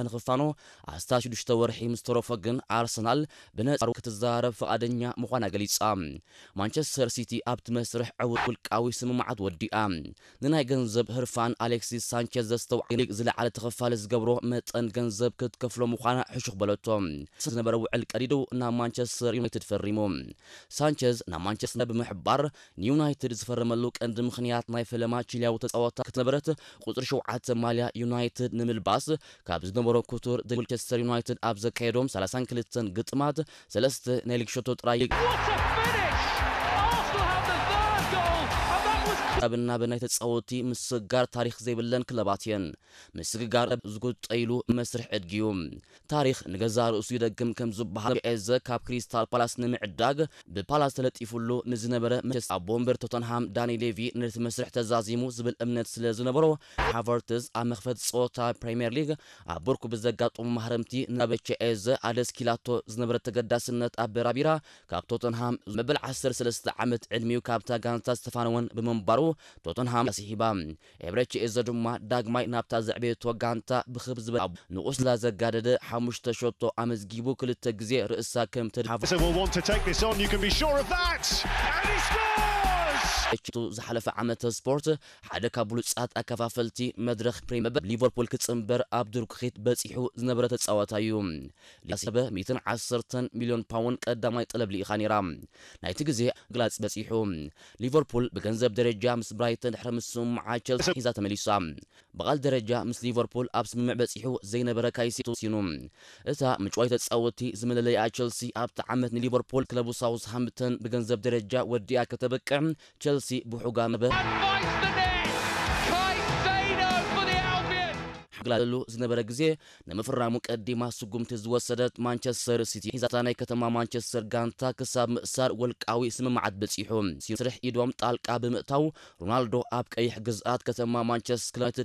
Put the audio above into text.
ንኽፋኖ ኣስታት ሽዱሽተ ወርሒ ምስ ተረፎ ግን ኣርሰናል ብነጻሩ ክትዘራረብ ፍቓደኛ ምዃና ገሊጻ። ማንቸስተር ሲቲ ኣብቲ መስርሕ ዕዉት ውልቃዊ ስምምዓት ወዲኣ። ንናይ ገንዘብ ህርፋን ኣሌክሲስ ሳንቸዝ ዘስተውዓል ሊግ ዝለዓለ ተኸፋሊ ዝገብሮ መጠን ገንዘብ ክትከፍሎ ምዃና ሕሹኽ በለቶ። ዝነበረ ውዕል ቀዲዱ ናብ ማንቸስተር ዩናይትድ ፈሪሙ። ሳንቸዝ ናብ ማንቸስተር ብምሕባር ንዩናይትድ ዝፈረመሉ ቀንዲ ምኽንያት ናይ ፈለማ ቺሊያዊ ተጻዋታ ክትነበረት ቁጽሪ ሸውዓተ ማልያ ዩናይትድ ንምልባስ ካብ ዝነበሮ ክቱር ማንቸስተር ዩናይትድ ኣብ ዘካየዶም ሰላሳን ክልተን ግጥማት ሰለስተ ናይ ሊግ ሸቶ ጥራይ ኣብ እናበ ናይ ተጻወቲ ምስጋር ታሪኽ ዘይብለን ክለባት እየን። ምስግጋር ዝጉጠይሉ መስርሕ ዕድጊ እዩ። ታሪኽ ንገዛ ርእሱ ይደግም ከም ዝበሃል ኤዘ ካብ ክሪስታል ፓላስ ንምዕዳግ ብፓላስ ተለጢፉሉ ንዝነበረ መቸስ ኣብ ወንበር ቶተንሃም ዳኒ ሌቪ ነቲ መስርሕ ተዛዚሙ ዝብል እምነት ስለ ዝነበሮ ሃቨርትዝ ኣብ መኽፈቲ ጸወታ ፕሪምየር ሊግ ኣብ ብርኩ ብዘጋጠሙ ማህረምቲ ናብ ኤዘ ኣደስኪላቶ ዝነበረ ተገዳስነት ኣበራቢራ ካብ ቶተንሃም መበል ዓሰርተ ሰለስተ ዓመት ዕድሚኡ ካብታ ጋንታ ዝተፋነወን ብምንባሩ ቶተንሃም ኣስሒባ። ኤብረቺ ኤዘ ድማ ዳግማይ ናብታ ዘዕበየቶ ጋንታ ብኽብ ዝበል ንቑስላ ዘጋደደ ሓሙሽተ ሸቶ ኣመዝጊቡ ክልተ ግዜ ርእሳ ከም ተድሓፈ They will want to take this on, you can be sure of that. And he scores! ቱ ዝሓለፈ ዓመተ ስፖርት ሓደ ካብ ብሉጻት ኣከፋፈልቲ መድረኽ ፕሪምየር ሊቨርፑል ክጽንበር ኣብ ድርኩኺት በጺሑ ዝነበረ ተጻዋታይ እዩ። ሊያሰበ ሚእትን ዓሰርተን ሚልዮን ፓውንድ ቀዳማይ ጠለብ ልኢኻ ነይራ። ናይቲ ግዜ ግላጽ በጺሑ። ሊቨርፑል ብገንዘብ ደረጃ ምስ ብራይተን ድሕሪ ምስምምዓ ቸልሲ ሒዛ ተመሊሳ። ብቓል ደረጃ ምስ ሊቨርፑል ኣብ ስምምዕ በጺሑ ዘይነበረ ካይሴዶ ሲኑ። እታ ምጭዋይ ተጻወቲ ዝመለለያ ቸልሲ ኣብቲ ዓመት ንሊቨርፑል ክለቡ ሳውዝሃምፕተን ብገንዘብ ደረጃ ወዲኣ ከተበቅዕ ቸልሲ ብሑጋ መበ Bites the net. Caicedo for the Albion. ሓግላሉ ዝነበረ ግዜ ንምፍራሙ ቀዲማ ስጉምቲ ዝወሰደት ማንቸስተር ሲቲ ሒዛታ ናይ ከተማ ማንቸስተር ጋንታ ክሳብ ምእሳር ወልቃዊ ስምምዓት በጺሑ። ስርሕ ኢዶም ጣልቃ ብምእታው ሮናልዶ ኣብ ቀይሕ ግዝኣት ከተማ ማንቸስተር ዩናይትድ